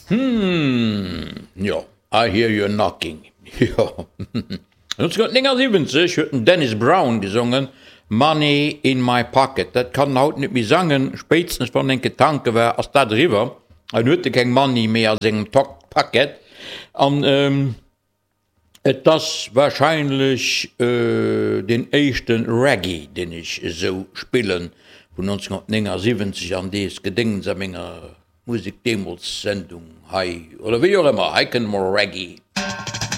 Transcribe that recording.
Hmm, jo, I hear you knocking, jo. 1979 huet den Dennis Brown gesongen Money in my pocket. Dat kann en haut net méi sangen, spéitstens wann en enke tanke war, ass dat eriwwer, en huet e keng Money méi a sengem Packet. An et ass warscheinlech deen éischte Reggae, deen ech esou spillen, vun 1979 an dees Gedéngs a menger Musek deemools Sendung hei, oder wéi och ëmmer, hei kënnt emol Reggae.